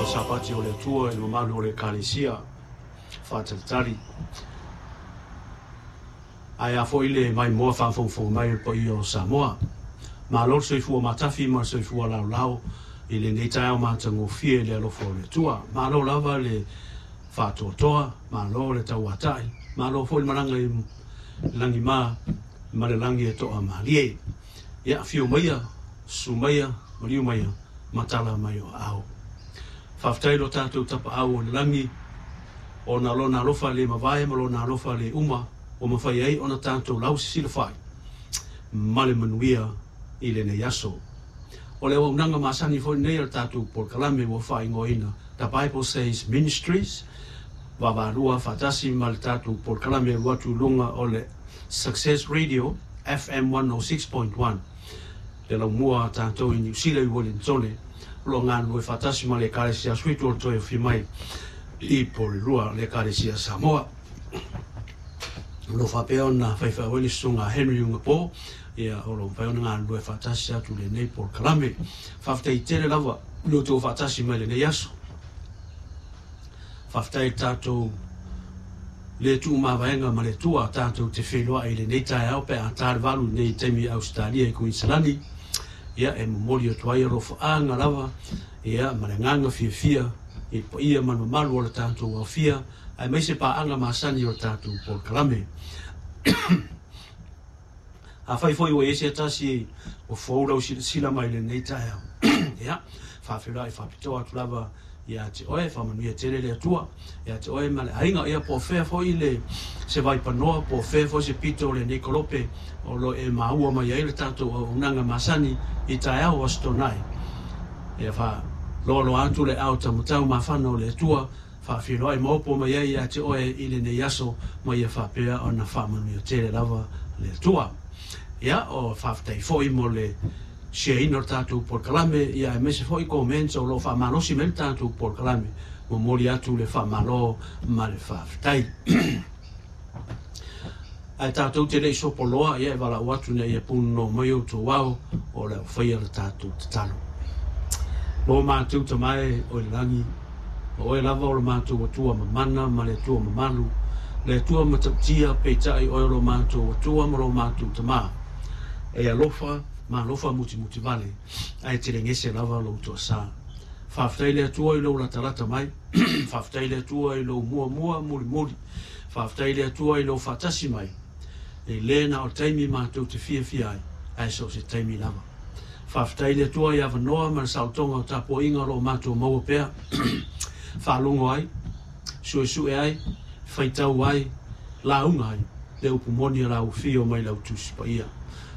Sapati o le Atua i le mamalu o le Ekalesia faatalitali. Ae a foi le maimoa faafogafoga mai o le paia o Samoa. Malo le soifua matafi ma le soifua laolao i lenei taeao matagofie i le alofa o le Atua. Malo lava le faatoatoa, malo le tauatai, malo foi le malaga i lagima ma le lagi e toamalie. Ia, afio maia, susu maia, maliu maia, ma tala mai o aao. Faafetai i lo tatou Tapaau o i le lagi, ona o Lona alofa le mavae ma Lona alofa le uma ua mafai ai ona tatou lausisilafai ma le manuia i lenei aso. O le auaunaga masani foi lenei a le tatou polokalame ua faaigoaina The Bible Says Ministries, vaavaalua faatasi ma le tatou polokalame e alu atu i luga o le Success Radio FM 106.1. Le laumua a tatou i Niu Sila i Uelinitone, o lo o galulue faatasi ma le Ekalesia Suitu o le Toe Afio Mai i Porirua, le Ekalesia Samoa. O lo o faapea ona faifeau ai le Susuga a Henry Ugapo, ia, o lo o mafai ona galulue faatasi atu i lenei polokalame. Faafetai tele lava i lo outou faatasi mai i lenei aso. Faafetai i le tatou le tuumavaega ma le Atua tatou te feiloai i lenei taeao pe a ta le 8 i nei taimi i Ausetalia i Kuiniselani. Ia, e momoli atu ai alofaaga lava, ia, ma le agaga fiafia i le paia ma le mamalu o le tatou aofia, aemaise paaga masani o le tatou polokalame. Afai foi ua i ai se tasi ua fou lau silasila mai i lenei taeao, ia, faafeiloai faapitoa atu lava ia te oe, faamanuia tele le Atua ia te oe ma le aiga, ia po o fea foi le se vaipanoa, po o fea foi se pito o lenei kolope o lo o e maua mai ai le tatou auaunaga masani i taeao o Aso Toonai. Ia faaloaloa atu le aao taumatau mafana o le Atua, faafeiloai maopo mai ai ia te oe i lenei aso, ma ia faapea ona faamanuia tele lava le Atua. Ia, o faafetai foi mo le share-ina o le tatou polokalame, ia aemaise foi comments o lo o faamalosi mai le tatou polokalame. Momoli atu le faamalo ma le faafetai. Ae tatou te le i sopoloa, ia e valaau atu ina ia punono mai outou ao o le a faia le tatou tatalo. Lo matou Tama e o i le lagi, o oe lava o lo matou Atua mamana ma le Atua mamalu, le Atua matautia, peitai oe o lo matou Atua ma lo matou Tama. E alofa ma alofa mutimuti vale, ae telegese lava lou toasa. Faafetai le Atua i lou latalata mai, faafetai le Atua i lou muamua mulimuli, faafetai le Atua i lou faatasi mai, e le na o taimi matou te fiafia ai, ae so o se taimi lava. Faafetai le Atua i avanoa ma le saolotoga o tapuaiga o lo o matou maua pea, faalogo ai, suesue ai, faitau ai, lauga ai le upu moni a lau afio mai lau Tusi Paia.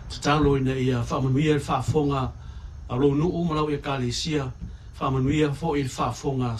Tatalo ina ia faamanuia le faafofoga a lou nuu ma lau Ekalesia, faamanuia foi le faafofoga a